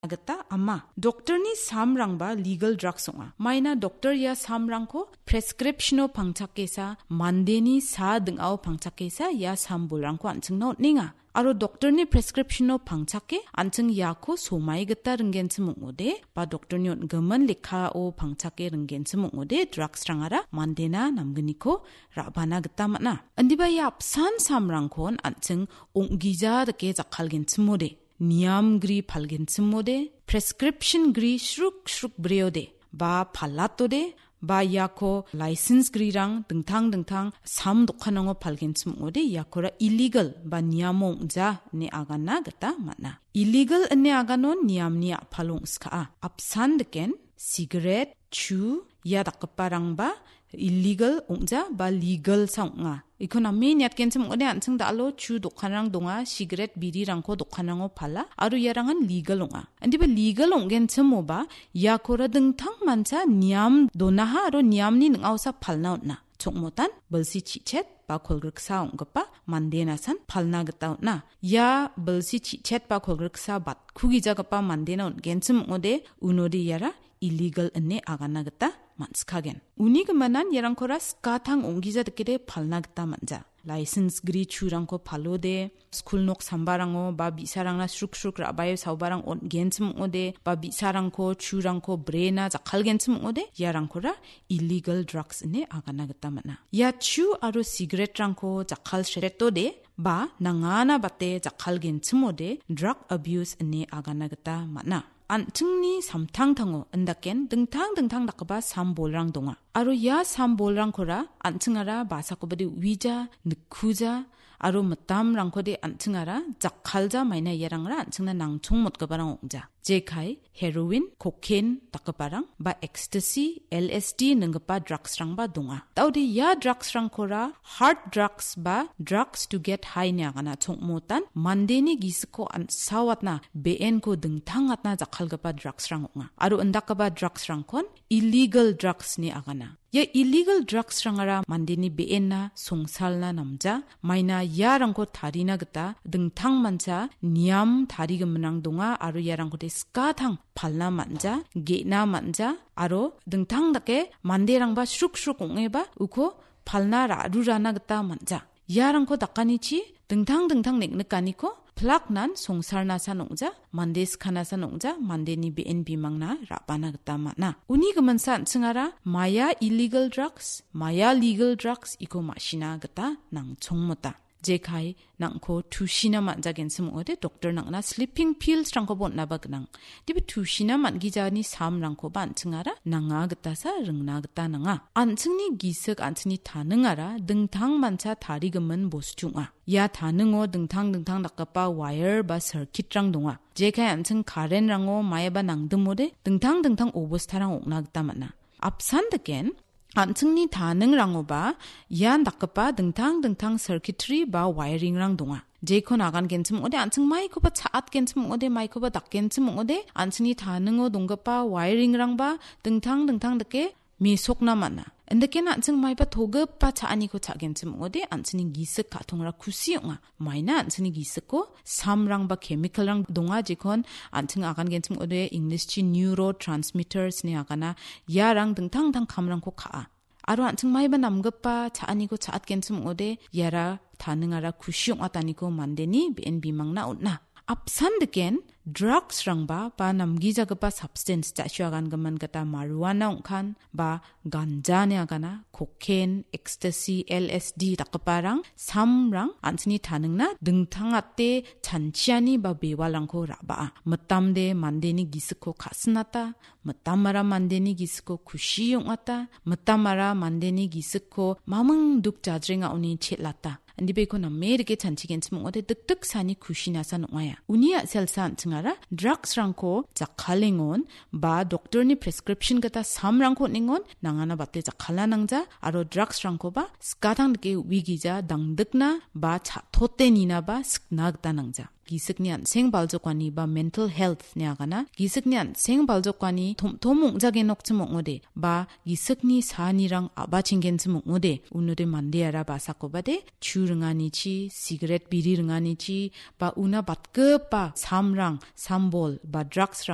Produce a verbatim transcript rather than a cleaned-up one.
gita ama. Doktorni samrangba legal drugs ong·a. Maina doktor ia samrangko prescription-o pangchakesa, mandeni sa ding·ao pangchakesa ia sam bolrangko an·chingna on·enga. Aro doktorni prescription-o pangchake an·ching iako somai gita ringgenchim ong·ode, ba doktorni on·gimin lekkao pangchake ringgenchim ong·ode, drugs-rangara mandena namgniko ra·bana gita man·a. Indiba ia apsan samrangkon an·ching ong·gija dake jakkalgenchimode, niamgri palgenchimode, prescription gri sruk sruk breode, ba palatode, ba iako license grirang dingtang dingtang sam dokanrango palgenchim ong·ode, iakora illegal ba niamo ong·ja ine agana gita man·a. Illegal ine aganon niamni a·palo ong·skaa. Apsan diken, sigaret, chu, ia dakgiparangba illegal ong·ja ba legal sa ong·a. Iko name niatgenchim ong·ode, an·ching da·alo chu dokanrang donga, sigaret, birirangko dokanrango pala, aro iarangan legal ong·a. Indiba legal ong·genchimoba, iakora dingtang mancha niam donaha aro niamni ning·aosa palna on·a. Chongmotan bilsi chi·chet ba kolgriksa ong·gipa mandenasan palna gita on·a. Ia bilsi chi·chet ba kolgriksa batkugijagipa mandena on·genchim ong·ode, unode iara illegal ine agana gita man·sikagen. Uni gimanan iarangkora skatang ong·gija dakede palna gita man·ja. License gri churangko palode, skul nok sambarango ba bi·sarangna sruk sruk ra·bae saobarang on·genchim ong·ode, ba bi·sarangko, churangko brena jakkalgenchim ong·ode, iarangkora illegal drugs ine agana gita man·a. Ia chu aro sigaretrangko jakkal sretode, ba nangana bate jakkalgenchimode drug abuse ine agana gita man·a. An·chingni samtangtango, indaken dingtang dingtang dakgipa sam bolrang donga. Aro ia sam bolrangkora an·chingara basakobade uija, nikkuja, aro mitamrangkode an·chingara jakkalja, maina iarangara an·chingna nangchongmotgiparang ong·ja. Jekai, heroin, cocaine dakgiparang, ba ecstasy, L S D ninggipa drugsrangba donga. Daode ia drugsrangkora hard drugs ba drugs to get high ine agana, chongmotan mandeni gisikko an·saoatna, be·enko dingtangatna jakkalgipa drugsrang ong·a. Aro indakgipa drugsrangkon illegal drugs ine agana. Ia illegal drugsrangara mandeni be·enna songsalna namja, maina iarangko tarina gita dingtang mancha niam tarigiminrang donga, aro iarangkode skatang palna man·ja, ge·na man·ja, aro dingtang dake manderangba sruk sruk ong·eba uko palna ra·rurana gita man·ja. Iarangko dakanichi dingtang dingtang neng·nikaniko plaknan songsarnasan ong·ja, mande skanasan ong·ja, mandeni be·en bimangna ra·bana gita man·a. Uni giminsa an·chingara maia illegal drugs, maia legal drugs iko ma·sina gita nangchongmota. Jekai nang·ko tusina man·jagenchim ong·ode, doktor nang·na sleeping pills-rangkoba on·naba gnang. Dibe tusina man·gijani samrangkoba an·chingara nanga gitasa ringna gita nanga. An·chingni gisik, an·chingni taningara dingtang mancha tarigimin bostu ong·a. Ia taningo dingtang dingtang dakgipa wire ba circuit-rang donga. Jekai an·ching current-rango maiba nangdimode dingtang dingtang obostarang ong·na gita man·a. Apsan diken, an·chingni taningrangoba ian dakgipa dingtang dingtang circuitry ba wiring-rang donga. Jekon agangenchim ong·ode, an·ching maikoba cha·atgenchim ong·ode, maikoba dakgenchim ong·ode, an·chingni taningo donggipa wiring-rangba dingtang dingtang dake mesokna man·a. Indakena an·ching maiba togipa cha·aniko cha·genchim ong·ode, an·chingni gisik ka·tongra kusi ong·a. Maina an·chingni gisiko samrang ba chemical-rang donga, jekon an·ching agangenchim ong·ode, English-chi neurotransmitters ine agana, iarang dingtang dingtang kamrangko ka·a. Aro an·ching maiba namgipa cha·aniko cha·atgenchim ong·ode, iara taningara kusi ong·ataniko mandeni be·en bimangna on·a. Apsan diken, drugs-rangba ba namgijagipa substance, ja·sio agangimin gita marijuana ong·kan, ba ganja ine agana, cocaine, ecstasy, L S D dakgiparang, samrang, an·chingni taningna dingtangate chanchiani ba bewalrangko ra·baa. Mitamde mandeni gisikko ka·sinata, mitamara mandeni gisikko kusi ong·ata, mitamara mandeni gisikko maming duk jajrengaoni chelata. Indibeko name rike chanchigenchim ong·ode, dikdiksani kusinasa ong·aia. Uni a·selsa an·chingara drugs-rangko jakkalengon ba doktorni prescription gita samrangko on·engon nangana bate jakkala nangja, aro drugs-rangkoba skatang dike uigija dangdikna ba cha·tote ninaba sikna gita nangja. Gisikni an·seng baljokani ba mental health ine agana, gisikni an·seng baljokani tom·tom ong·jagenokchim ong·ode, ba gisikni saanirang a·bachenggenchim ong·ode, unode mandeara basakobade, chu ringanichi, sigaret biri ringanichi, ba una batgipa samrang, sambol, ba drugs-rang